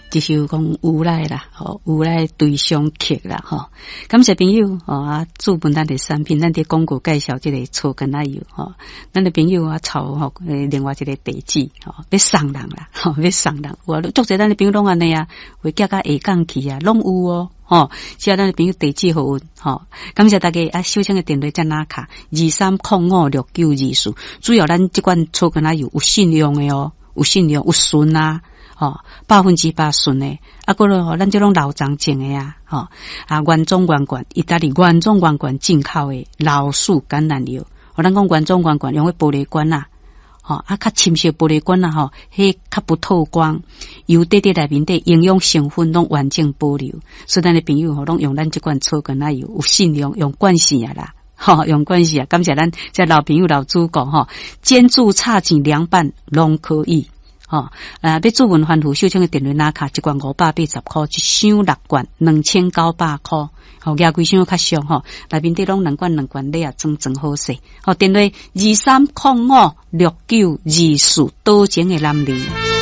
這首講無奈啦，吼，無奈對象曲啦，吼。感謝朋友，吼啊，注本咱的產品，咱佇廣告介紹這個草根仔油，吼。咱的朋友啊，抄吼，另外一個地址，吼，欲送人啦，吼，欲送人。有啊，足濟咱的朋友攏按呢啊，會寄甲下港去啊，攏有哦，吼。只要咱的朋友地址予阮，吼。感謝大家啊，收聽的電話才拿卡23056924，主要咱這款草根仔油有信用的哦，有信用有純啊。吼，100%純的，啊，閣落吼，咱這攏老欉種的啊，吼，啊，原裝原罐，意大利原裝原罐進口的老樹橄欖油，吼，咱講原裝原罐用彼玻璃罐啊，吼，啊，較深色玻璃罐啊，吼，彼較不透光，油底底內面底營養成分攏完整保留，所以咱的朋友吼，攏用咱這款草橄欖油，有信用，用慣勢啊啦，吼，用慣勢啊，感謝咱這老朋友老主顧吼，煎煮炒煎涼拌攏可以。吼，啊，欲主問番予秀清的電話拿卡，一罐580箍，一箱六罐2900箍，吼，舉規箱較俗吼，內面底攏兩罐兩罐禮盒裝裝好勢，吼，電話23056924，多情的男兒。